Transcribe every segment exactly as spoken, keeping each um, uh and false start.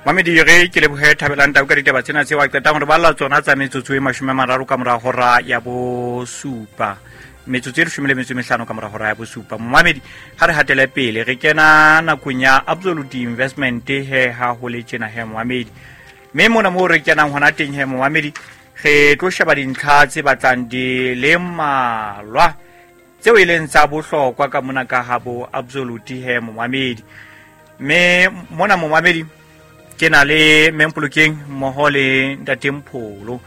Mamedi re ke lebohe Thabelang Tau ka ditaba tsena tseo a qetang hore balla tsona tsa metsotso e mashome a mararo ka mora hora ya bosupa. Metsotso e leshome le metso e mehlano ka mora hora ya bosupa. Momamedi ha re hatele pele re kena nakong ya Absolute Investment he ha ho le tjena he momamedi. Mme mona moo re kenang hona teng he momamedi re tlo sheba dintlha tse batlang di le mmalwa tseo e leng tsa bohlokwa ka mona ka ha bo Absolute he momamedi. Mme mona momamedi ke na le Mempolokeng mmoho le Ntate Mpholo.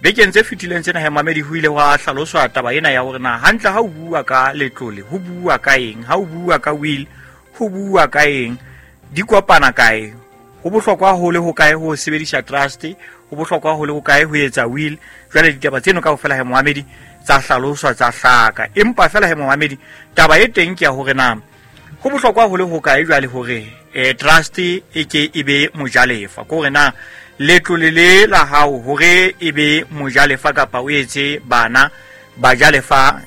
Bekeng tse fetileng tsena he mamedi ho ile hwa hlaloswa taba ena ya hore na hantle ha o bua ka letlole ho bua ka eng, ha o bua ka will ho bua ka eng, di kopana kae, ho bohlokwa ho le ho kae ho sebedisa trust, ho bohlokwa ho le ho kae ho etsa will. Jwale ditaba tseno kaofela he momamedi tsa hlaloswa tsa hlaka, empa fela he momamedi taba e teng ke ya hore na ho bohlokwa ho le ho kae jwale hore eh trust e ke e be mojalefa, ke hore na letlole le la hao hore e be mojalefa kapa o etse bana bajalefa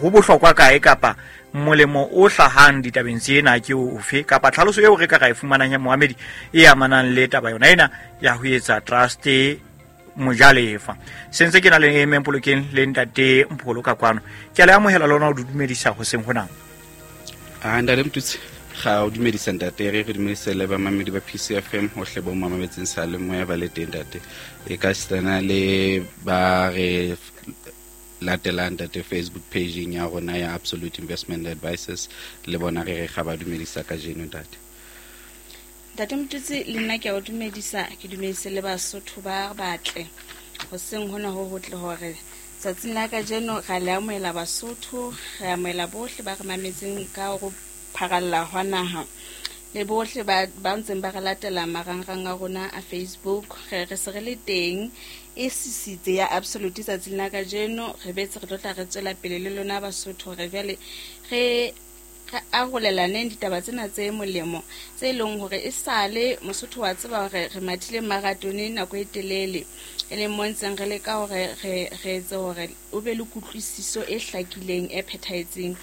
ho bohlokwa kae, kapa molemo o hlahang ditabeng tsena ke ofe, kapa tlhaloso eo re ka ra e fumanang ya moamedi e amanang le taba yona ena ya ho etsa trust mojalefa. Sentse ke na le Mempolokeng le Ntate Mpholo ka kwano, ke a le amohela lona ho dumedisa hoseng hona. Ah, Ntate Mtutsi, ga o dumedisa ntate, re re dumedise le bamamedi ba P C F M hohle bo mamametseng sa le moya ba le teng ntate. E ka sitana le ba re latelang ntate Facebook page ya rona ya Absolute Investment Advisors, le bona re re ga ba dumedisa kajeno ntate. Ntate Mtutsi, le nna ke a o dumedisa, ke dumedise le Basotho ba batle hoseng hona ho hotle hore tsatsing la kajeno ra le amohela Basotho, re amohela bohle ba re mametseng ka ho pharalla hwa naha le bohle ba ba ntseng ba re latela marangrang a rona a Facebook. Re re se re le teng e sisitse ya Absolute tsatsing la kajeno, re betse re tlo tla re tswela pele le lona Basotho re jwale re re arolelaneng ditaba tsena tse molemo tse leng hore e sale Mosotho wa tseba hore re mathile marathone nako e telele, e leng mo ntseng re leka hore re re etse hore o be le kutlwisiso e hlakileng e phethahetseng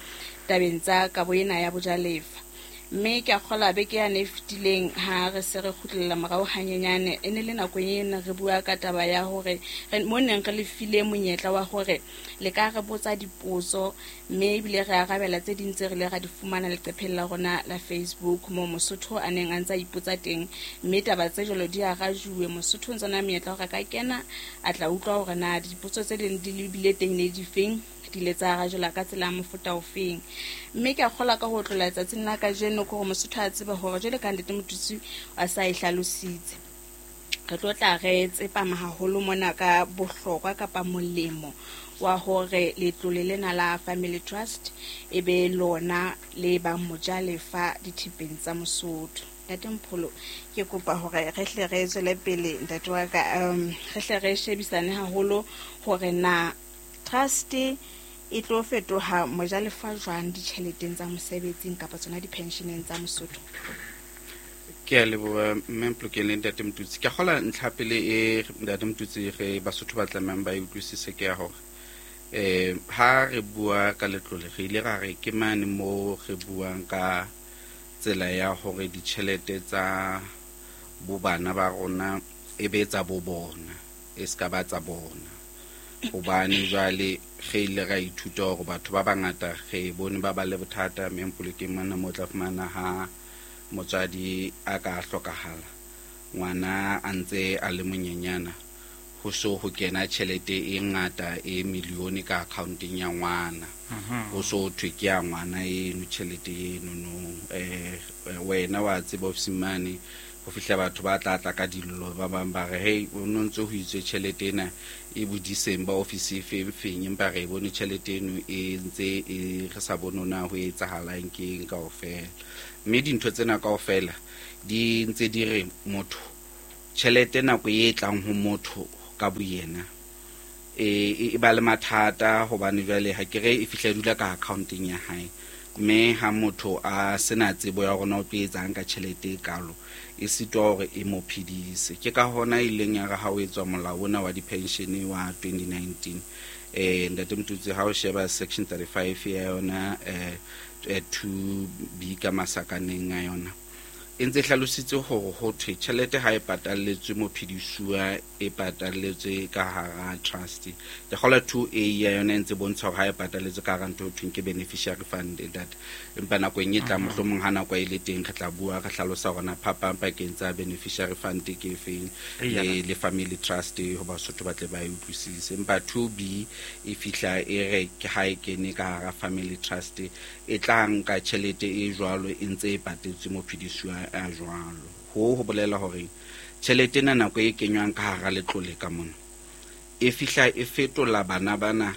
tabeng tsa kabo ena ya bojalefa. Mme ke a kgolwa beke yane e fetileng ha re se re kgutlela morao hanyenyane, e ne le nako ena re bua ka taba ya hore re mo neng re le file monyetla wa hore le ka re botsa dipotso, mme ebile re arabela tse ding tse re ile ra di fumana leqepheng la rona la Facebook moo Mosotho a neng a ntsa ipotsa teng, mme taba tse jwalo di arajuwe. Mosotho o ntse na monyetla hore a ka kena a tla utlwa hore na dipotso tse ding di lebile teng ne di feng, di ile tsa arajwela ka tsela ya mofuta ofeng. Mme ke a kgolwa ka ho tlola tsatsing la kajeno ke hore Mosotho a tsebe hore jwale ka Ntate Motutsi a sa e hlalositse, re tlo tla re tsepama haholo mona ka bohlokwa kapa molemo wa hore letlole lena la Family Trust e be lona le bang mojalefa dithepeng tsa Mosotho. Ntate Mpholo, ke kopa hore re hle re tswele pele ntate wa ka, um re hle re shebisane haholo hore na trust e tlo fetoha mojalefa jwang ditjheleteng tsa mosebetsing kapa tsona di-pensioneng tsa Mosotho. Ke a leboha Mempolokeng le Ntate Mtutsi. Ke a kgolwa ntlha pele e Ntate Mtutsi re Basotho ba tlamehang ba e utlwisise ke ya hore eh ha re bua ka letlole re ile ra re ke mane mo re buang ka tsela ya hore ditjhelete tsa bo bana ba rona e be tsa bo bona, e ska ba tsa bona. Hobane jwale re ile ra ithuta hore batho ba bangata re bone ba ba le bothata Mempolokeng mona mo tla fumana ha motswadi a ka hlokahala, ngwana a ntse a le monyenyana, ho so ho kena tjhelete e ngata e milione ka accounteng ya ngwana. Ho so thwe ke ya ngwana eno tjhelete eno no. Eh wena wa tseba ofising mane ho fihla batho ba tla tla ka dillo, ba bang ba re hey o no ntse ho itswe tjhelete ena e bodiseng ba ofisi e feng feng, empa re bone tjhelete eno e ntse e re sa bone na ho etsahalang ke eng kaofela. Mme dintho tsena kaofela di ntse di re motho tjhelete nako e tlang ho motho ka boyena e e ba le mathata, hobane jwale ha ke re e fihla dula ka accounteng ya hae, mme ha motho a sena tsebo ya hore na o tlo etsang ka tjhelete e kalo, e sitwa hore e mo phedise. Ke ka hona e ileng ya re ha o etswa molao ona wa di-pension wa twenty nineteen, eh Ntate Mtutsi, ha o sheba section thirty-five ya yona, eh two B ka masakaneng a yona, E ntse hlalositse hore ho thwe tjhelete ha e patalletswe mophedisuwa, e patalletswe ka hara trust. Ke kgolwa two A ya yona e ntse bontsha hore ha e patalletswe ka hara ntho ho thweng ke beneficiary fund that. Empa nakong e tlang mohlomong ha nako e le teng re tla bua re hlalosa hore na phapang pakeng tsa beneficiary fund ke efeng le, le family trust ho Basotho ba tle ba e utlwisise. Empa two B e fihla e re ke ha e kene ka hara family trust e tla nka tjhelete e jwalo e ntse e patetswe mophedisuwa a jwalo. Ho ho bolela hore tjhelete ena nako e kenywang ka hara letlole ka mona e fihla e fetola bana bana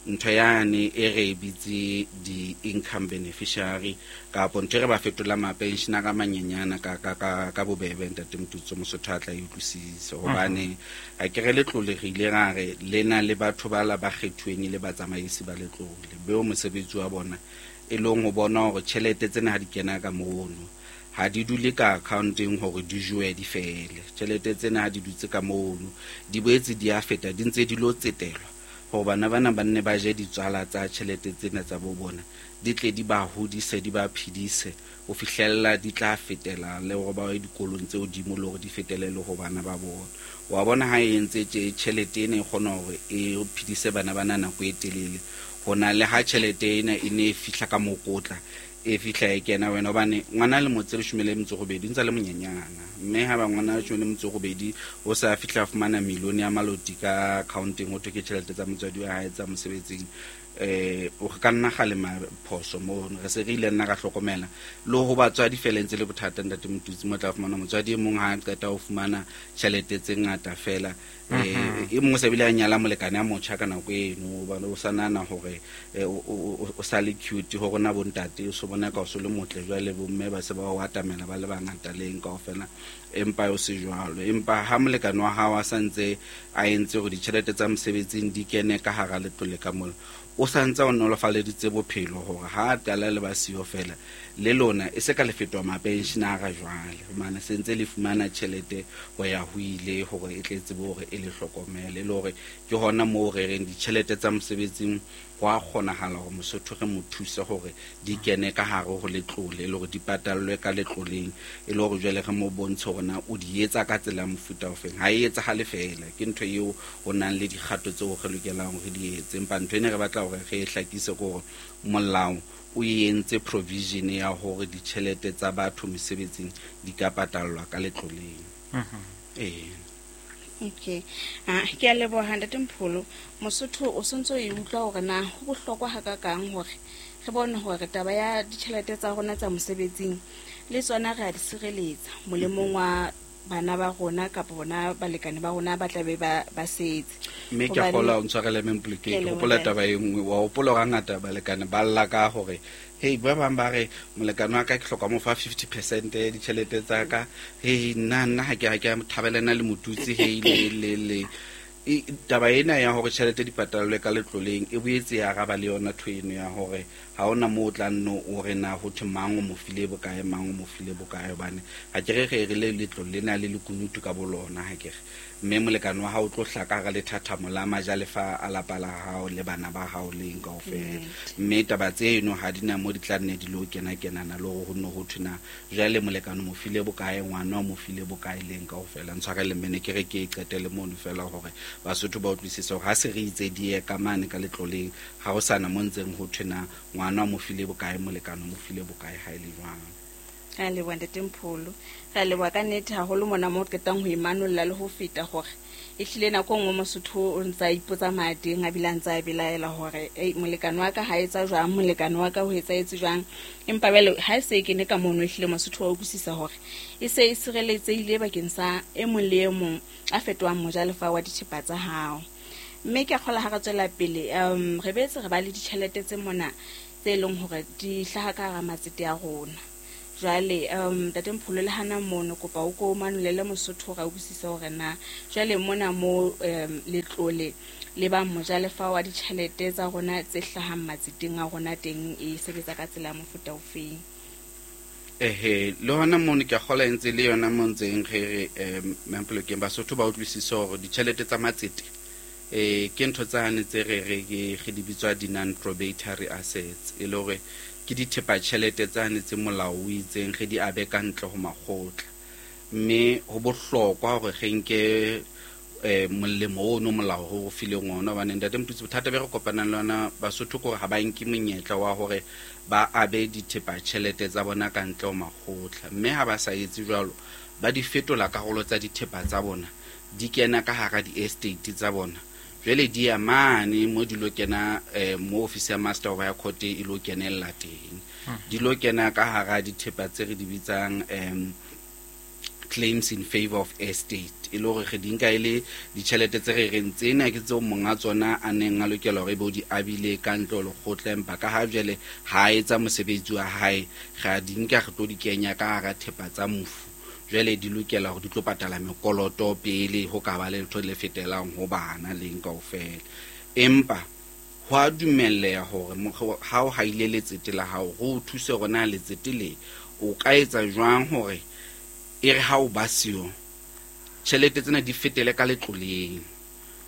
ntho yane e re e bitse di-income beneficiary kapo ntho e re ba fetola ma-pensionera a manyenyana ka, ka, ka, ka bobebe ntate Motutso Mosotho a tla e utlwisise. Hobane ha ke re letlole re ile ra re le na le batho ba la ba kgethuweng e le batsamaisi ba letlole beo mosebetsi wa bona e leng ho bona hore tjhelete tsena ha di kena ka mono ha di dule ka accounteng hore di jowe di fele. Tjhelete tsena ha di dutse ka mono di boetse di a feta di ntse di lo tsetelwa hore bana bana ba nne ba je ditswala tsa tjhelete tsena tsa bo bona di tle di ba hodise di ba phedise ho fihlella di tla fetela le hore ba ye dikolong tse hodimo le hore di fetele le ho bana ba bona. Wa bona ha e entse tje tjhelete ena e kgona hore e phedise bana bana nako e telele ho na le ha tjhelete ena e ne e fihla ka mokotla e fihla e kena wena hobane ngwana le motse leshome le metso robedi ntse le monyenyana mme ha ba ngwana leshome le metso robedi o sa fihla fumana milione ya maloti ka accounting ho thwe ke tjhelete tsa motswadi wa hae tsa mosebetsing eh o ka nna kgalema phoso mo re se re ile nna ka hlokomela le ho batswadi fela ntse le bothata ntate Motutsi mo tla fumana motswadi e mong ha a qeta ho fumana tjhelete tse ngata fela eh e mong se bile a nyala molekane a motjha ka nako eno hobane o sa nahana hore o sa le cute ho rona bontate o so bona ka o so le motle jwale bomme ba se ba o atamela ba le bangata leng kaofela empa o se jwalo. Empa ha molekane wa hao a sa ntse a entse hore ditjhelete tsa mosebetsing di kene ka hara letlole ka mola o sa ntse o nolofaleditse bophelo hore ha a qala le ba siyo fela le lona e se ka le fetoha mapensionara jwale hobane se ntse le fumana tjhelete ho ya ho ile hore e tle tsebe hore e le hlokomele le hore ke hona moo re reng ditjhelete tsa mosebetsing ho a kgonahala hore Mosotho re mo thuse hore di kene ka hare ho letlole le hore di patallwe ka letloleng e le hore jwale re mo bontshe hore na o di etsa ka tsela ya mofuta ofeng. Ha e etsahale fela ke ntho eo ho nang le dikgato tseo re lokelang hore re di etse empa ntho ena re batla hore re e hlakise ke hore molao o entse provision ya hore ditjhelete tsa batho mesebetsing di ka patallwa ka letloleng. Eh Okay. Ah, ke a leboha ntate Mpholo. Mosotho o sontso e utlwa hore na ho bohlokwa hakakang hore re bone hore taba ya ditjhelete tsa rona tsa mosebetsing le tsona re a di sireletsa molemong wa bana ba rona kapa bona balekane ba rona ba tla be ba ba setse. Mme ke a kgolwa o ntshwarele Mme ke hopola taba e nngwe wa hopola hore hangata balekane ba lla ka hore hei ba bang ba re molekane wa ka ke hloka mo fa fifty percent ya ditjhelete tsa ka hei nna nna ha ke ha ke thabelana le Motutsi hei le le le taba ena ya hore tjhelete di patallwe ka letloleng e boetse ya araba le yona ntho eno ya hore ha hona moo o tla nno o re na ho thwe mang o mo file bokae mang o mo file bokae hobane ha ke re re re le letlole lena le lekunutu ka bolona ha ke re mme molekane wa hao o tlo hlaka hara lethathamo la majalefa a lapa la hao le bana ba hao leng kaofela mme taba tseno ha di na mo di tla nne di lo kena kenana le hore ho nne ho thwe na jwale molekane o mo file bokae ngwana o mo file bokae leng kaofela. Ntshwarele mme ne ke re ke e qetele mono fela hore Basotho ba utlwisise hore ha se re itse di ye ka mane ka letloleng ha ho sana mo ntseng ho thwe na ngwana o mo file bokae molekane o mo file bokae ha e le jwang. Re a leboha ntate Mpholo. Re a leboha ka nnete haholo mona mo qetang ho imanolla le ho feta hore ehlile nako e nngwe Mosotho o ntsa ipotsa mateng a bile a ntsa belaela hore ei molekane wa ka ha etsa jwang molekane wa ka ho etsahetse jwang empa jwale ha e se e kene ka mono ehlile Mosotho wa utlwisisa hore e se e sireletsehile bakeng sa e mong le e mong a fetohang mojalefa wa dithepa tsa hao. Mme ke a kgolwa ha re tswela pele um re boetse re ba le ditjhelete tse mona tse leng hore di hlaha ka hara matsete a rona. Jwale um ntate Mpholo le hana mono kopa o ko manolele Mosotho hore a utlwisise hore na jwale mona mo um letlole le ba mojalefa wa ditjhelete tsa rona tse hlahang matseteng a rona teng e sebetsa ka tsela ya mofuta ofeng. Ehe le hona mono ke a kgolwa e ntse le yona mo ntseng re re um Mme Basotho ba utlwisise hore ditjhelete tsa matsete eh ke ntho tsane tse re re ke re di bitswa di non probatory assets e le hore Ke dithepa tjhelete tsane tse molao o itseng re di abe ka ntle ho makgotla. Mme ho bohlokwa hore re nke eh molemo ono molao ho fileng ona, hobane ntate Motutsi bothata be re kopanang le ona Basotho ke hore ha ba nke monyetla wa hore ba abe dithepa tjhelete tsa bona ka ntle ho makgotla. Mme ha ba sa etse jwalo, ba di fetola karolo tsa dithepa tsa bona, di kena ka hara di-estate tsa bona. Jwale di ya mane mo di lo kena, eh, mo office ya Master of High Court e lo kenella teng. Di lo kena ka hara dithepa tse re di bitsang, em, claims in favor of estate. E le hore re di nka e le ditjhelete tse re reng tsena ke tseo monga tsona a neng a lokela hore ebe o di abile ka ntle ho lekgotla, empa ka ha jwale ha a etsa mosebetsi wa hae, re a di nka re tlo di kenya ka hara thepa tsa mofu. Jwale di lokela hore di tlo patala mekoloto pele ho ka ba le letho le fetelang ho bana leng kaofela. Empa ho a dumelleha hore mokgwa ha o haile letsete la hao, ho o thuse hore na letsete le o ka etsa jwang hore e re ha o ba siyo tjhelete tsena di fetele ka letloleng.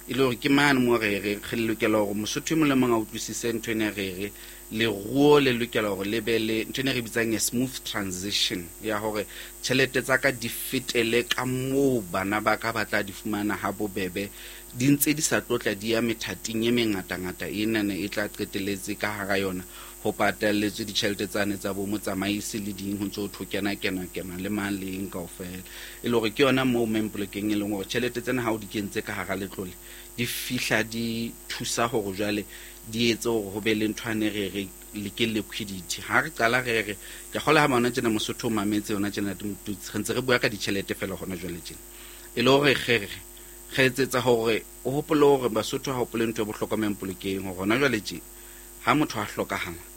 E le hore ke mane mo re re re lokela hore Mosotho e mong le mong a utlwisise ntho ena re re leruo le lokela hore le be le ntho ena re bitsang a smooth transition, ya hore tjhelete tsa ka di fetele ka moo bana ba ka ba tla di fumana ha bobebe, di ntse di sa tlotla di ya methating e mengatangata enana e tla qetelletse ka hara yona ho patalletswe ditjhelete tsane tsa bo motsamaisi le ding ho ntso ho thwe kena, kena, kena le mang le eng kaofela. E le hore ke yona moo Mempolokeng e leng hore tjhelete tsena ha o di kentse ka hara letlole di fihla di thusa hore jwale di etse hore ho be le ntho ane re re le ke liquidity. Ha re qala re re ke kgolwa ha bona tjena Mosotho o mametse yona tjena re ntse re bua ka ditjhelete fela hona jwale tjena. E le hore re re re etsetsa hore o hopole hore Basotho ha hopole ntho e bohlokwa Mempolokeng hore hona jwale tje ha motho a hlokahala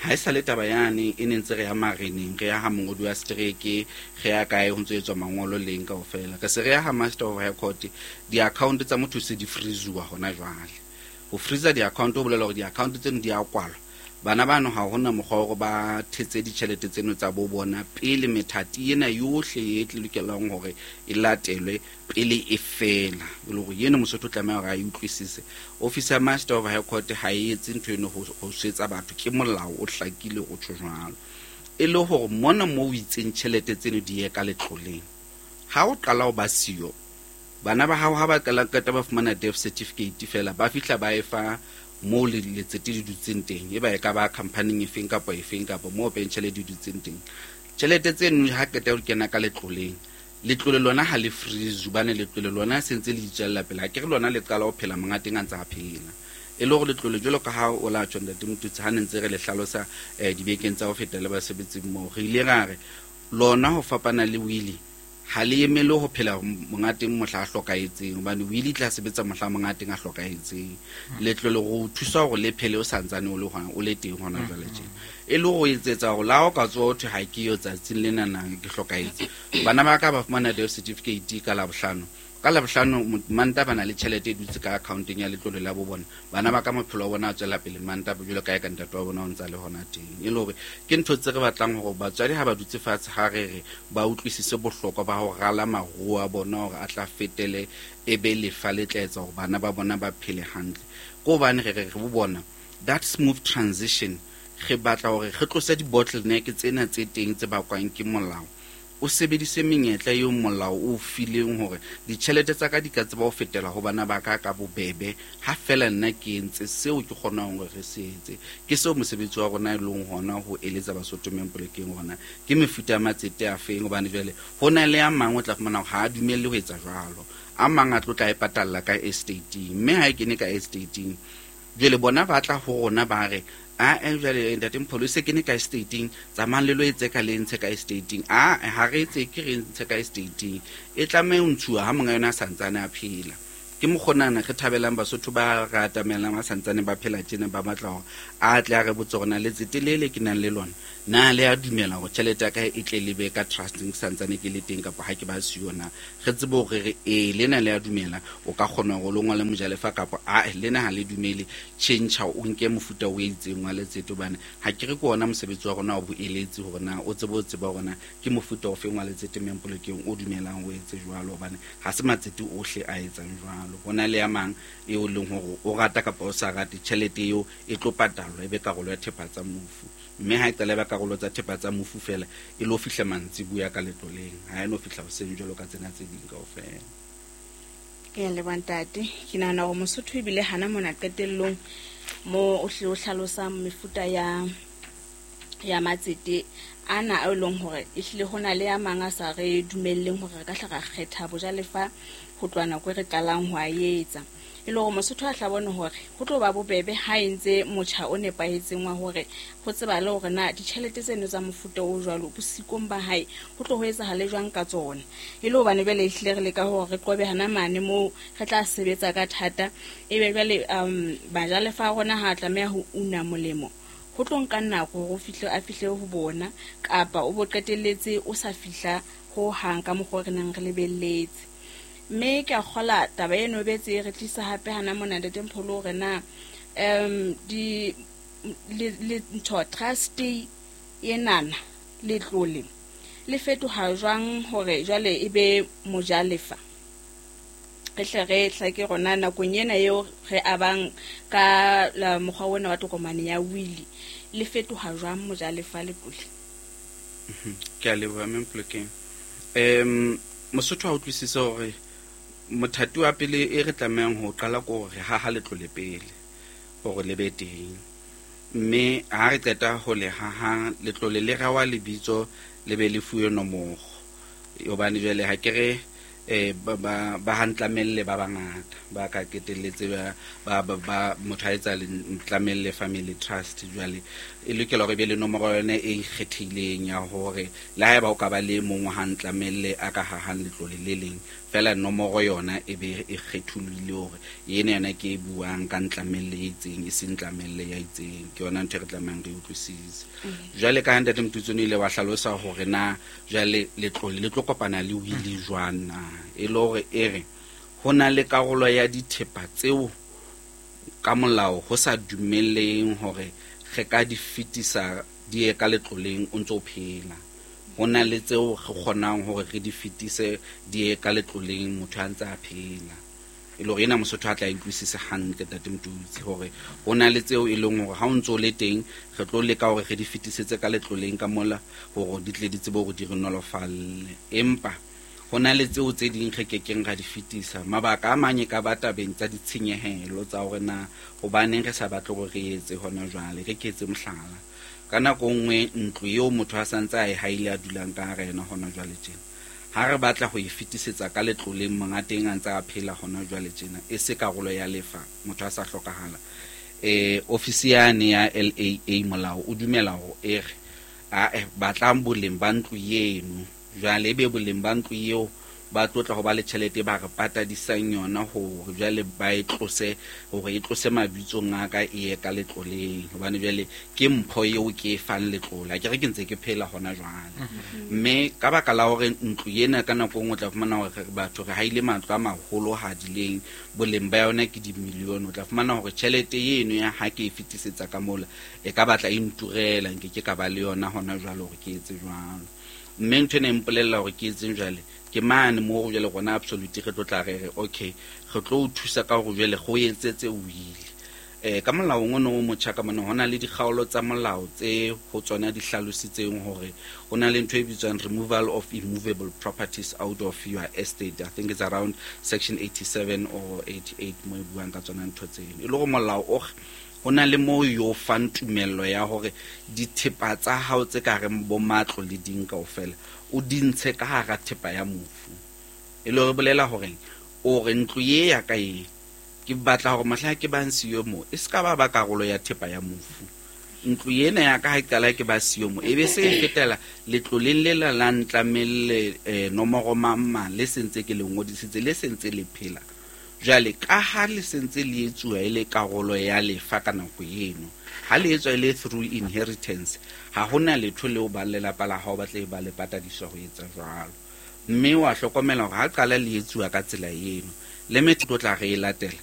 ha e sa le taba yane e ne ntse re ya mareneng, re ya ha mongodi wa setereke, re ya kae ho ntso etswa mangolo leng kaofela. Re se re ya ha Master of High Court, di-account tsa motho se di freezuwa hona jwale. Ho freeza di-account ho bolela hore di-account tseno di a kwalwa. Bana bano ha hona mokgwa wa hore ba thetse ditjhelete tseno tsa bo bona pele methati ena yohle e tle lokelang hore e latelwe pele e fela. E le hore eno Mosotho o tlameha hore a e utlwisise. Office ya Master of High Court ha e etse ntho eno ho, ho swetsa batho, ke molao o hlakile o tjho jwalo. E le hore mona moo o itseng tjhelete tseno di ye ka letloleng, ha o qala ho ba siyo, bana ba hao ha ba qala qeta ba fumana death certificate fela, ba fihla ba e fa moo le letsete le dutseng teng, e ba e ka ba company efeng kapa efeng kapa moo pension di dutseng teng. Tjhelete tseno ha qeta ho kena ka letloleng, letlole lona ha le freeze, hobane letlole lona se ntse le itswella pele. Ha ke re lona le qala ho phela monga teng a ntse a phela. E le hore letlole jwalo ka ha o la tjho ntate Motutsi, ha ne ntse re le hlalosa, eh, dibekeng tsa ho feta le basebetsi mmoho, re ile ra re lona ho fapana le wili ha le emele ho phela monga teng mohla a hlokahetseng, hobane wili e tla sebetsa mohla monga teng a hlokahetseng. Letlole ho thusa hore le phele o santsane o le hona, o le teng hona jwale tjena. E le ho etsetsa hore la o ka tsoha ho thwe ha ke yo tsatsing lena na ke hlokahetse, bana ba ka ba fumana death certificate ka Labohlano. Ka Labohlano Manta ba na le tjhelete e dutse ka accounteng ya letlole la bo bona. Bana ba ka maphelo a bona a tswela pele Manta jwalo ka e ka ntate wa bona o ntsa le hona teng. E le hore ke ntho tse re batlang hore batswadi ha ba dutse fatshe ha re re ba utlwisise bohlokwa ba ho rala maruo a bona hore a tla fetele e be lefa le tla etsa hore bana ba bona ba phele hantle. Ke hobane re re re bo bona that smooth transition, re batla hore re tlose di-bottleneck tsena tse teng tse bakwang ke molao. O sebedise menyetla eo molao o fileng hore ditjhelete tsa ka di ka tseba ho fetela ho bana ba ka ka bobebe, ha fela nna ke entse seo ke kgonang hore re se etse. Ke seo mosebetsi wa rona e leng hona ho eletsa Basotho Mempolokeng hona ke mefuta ya matsete a feng, hobane jwale ho na le a mang o tla fumana hore ha a dumelle ho etsa jwalo. A mang a tlo tla e patalla ka estate-ing, mme ha e kene ka estate-ing jwale bona ba tla ho rona ba re, a, eh, jwale ntate Mpholo, se kene ka estate-ing, tsamayang le lo etse ka le ntshe ka estate-ing. A, ha re etse ke re ntshe ka estate-ing, e tlameha ho ntshuwa ha monga yona a santsane a phela. Ke mokgonana re thabelang Basotho ba re atamelang ba santsane ba phela tjena, ba batla hore a tle a re botse hore na letsete le le ke nang le lona, na le a dumela hore tjhelete ya ka e tle le be ka trusting ke santsane ke le teng kapa ha ke ba siyo na. Re tsebe hore re ee, lena le a dumela, o ka kgona hore o lo ngole mojalefa, kapa a, lena ha le dumele, tjhentjha o nke mofuta o itseng wa letsete, hobane ha ke re ke ona mosebetsi wa rona wa boeletsi hore na o tsebe ho tseba hore na ke mofuta ofe wa letsete Mempolokeng o dumelang o etse jwalo, hobane ha se matsete ohle a etsang jwalo. jwalo. Ho na le ya mang eo leng hore o rata kapa o sa rate, tjhelete eo e tlo patalwa e be karolo ya thepa tsa mofu. Mme ha e qala e ba karolo tsa thepa tsa mofu fela, e lo fihla mantsibuya ka letloleng, ha e no fihla hoseng jwalo ka tsena tse ding kaofela. Ke a leboha, ntate. Ke nahana hore Mosotho ebile hana mona qetellong mo o hlile o hlalosang mefuta ya ya matsete ana a e leng hore ehlile ho na le a mang a sa re dumelleng hore re ka hla ra kgetha bojalefa ho tloha nako e re qalang ho a etsa. E le hore Mosotho a tla bone hore ho tlo ba bobebe ha e ntse motjha o nepahetseng wa hore ho tsebale hore na ditjhelete tseno tsa mofuta o jwalo bosikong ba hae ho tlo ho etsahale jwang ka tsona. E le hobane jwale ehlile re leka hore re qobe hana mane moo re tla sebetsa ka thata, ebe jwale um bajalefa a rona ha a tlameha ho una molemo, ho tlo nka nako hore o fihle a fihle ho bona, kapa o bo qetelletse o sa fihla ho hang ka mokgwa o re neng re lebelletse. Mme ke a kgola taba eno e betse e re tlisa hape hana mona, Ntate Mpholo, hore na um di le le ntho trust enana letlole le fetoha jwang hore jwale e be mojalefa. Re hle re hlake rona nakong ena eo re abang ka la mokgwa ona wa tokomane ya wili, le fetoha jwang mojalefa letlole? Ke a leboha, Mme Mpolokeng. um Mosotho ha utlwisise hore mothati wa pele e re tlamehang ho qala ko hore haha letlole pele hore le be teng, mme ha re qeta ho le haha letlole le rewa lebitso le be le fuwe nomoro, hobane jwale ha ke re eh ba ba ba hantlamelle ba bangata ba ka qetelletse ba ba ba, ba motho a etsa Ntlamelle Family Trust. Jwale e lokela hore e be le nomoro yone e ikgethileng ya hore le haeba o ka ba le mong wa Hantlamelle a ka hahang letlole le leng fela, nomoro yona e be e kgetholohile hore ena yona ke e buang ka Ntlamelle e itseng, e seng Ntlamelle ya itseng. Ke yona ntho e re tlamehang re utlwisise. Jwale ka ha Ntate Mtutsone ile wa hlalosa hore na jwale letlole le tlo kopana le wili jwang na, e le hore e re ho na le karolo ya dithepa tseo ka molao ho sa dumelleng hore re ka di fetisa di ye ka letloleng o ntso phela. Ho na le tseo re kgonang hore re di fetise di ye ka letloleng motho a ntse a phela. E le hore ena Mosotho a tla e utlwisise hantle, Ntate Mtutsi, hore ho na le tseo e leng hore ha o ntso le teng re tlo leka hore re di fetisetse ka letloleng ka mola hore di tle di tsebe hore di re nolofalle, empa ho na le tseo tse ding re kekeng ra di fetisa. Mabaka a mang e ka ba tabeng tsa ditshenyehelo tsa hore na hobaneng re sa batle hore re etse hona jwale. Re ke etse mohlala, ka nako nngwe ntlo eo motho a santse a e haile a dulang ka hara yona hona jwale tjena, ha re batla ho e fetisetsa ka letloleng monga teng a ntse a phela hona jwale tjena, e se karolo ya lefa, motho a sa hlokahala, eh ofisi yane ya L A A molao o dumela hore e re a eh, batlang boleng ba ntlo eno, jwale ebe boleng ba ntlo eo ba tlotla ho ba le tjhelete ba re patadisang yona hore jwale ba e tlose, hore e tlose mabitsong a ka e ye ka letloleng, hobane jwale ke mpho eo ke e fang letlole, ha ke re ke ntse ke phela hona jwale. Mme ka baka la hore ntlo ena ka nako e nngwe o tla fumana hore batho re haile matlo a maholo hadileng, boleng ba yona ke dimilione, o tla fumana hore tjhelete eno ya ha ke e fetisetsa ka mola e ka batla e nturela, nke ke ka ba le yona hona jwale hore ke etse jwalo. Mme ntho ena e mpolella hore ke etseng jwale, ke mane moo jwale rona Absolute re tlo tla re re okay, re tlo o thusa ka hore jwale go etsetse wili. Eh, ka molaong ono o motjha ka mona ho na le dikgaolo tsa molao tse ho tsona di hlalositseng hore ho na le ntho e bitswang removal of immovable properties out of your estate. I think it's around section eighty-seven or eighty-eight mo e buang ka tsona ntho tseno. E le hore molao o ho na le moo yo fang tumello ya hore dithepa tsa hao tse ka reng bo matlo le ding kaofela o di ntshe ka hara thepa ya mofu. E le hore bolela hore o re ntlo ye ya ka e ke batla hore mohla ke bang siyo mo e ska ba ba karolo ya thepa ya mofu. Ntlo ena ya ka ha e qala ke ba siyo mo e be se e fetela letloleng le la la Ntlamelle, eh, nomoro mang mang le sentse ke le ngodisitse le sentse le phela. Jwale ka ha le sentse le etsuwa e le karolo ya lefa ka nako eno, ha le etswa e le through inheritance, ha hona letho leo ba lelapa la hao ba tle ba le patadiswa ho etsa jwalo. Mme wa hlokomela hore ha qala le etsuwa ka tsela eno, le metho tlo tla re e latela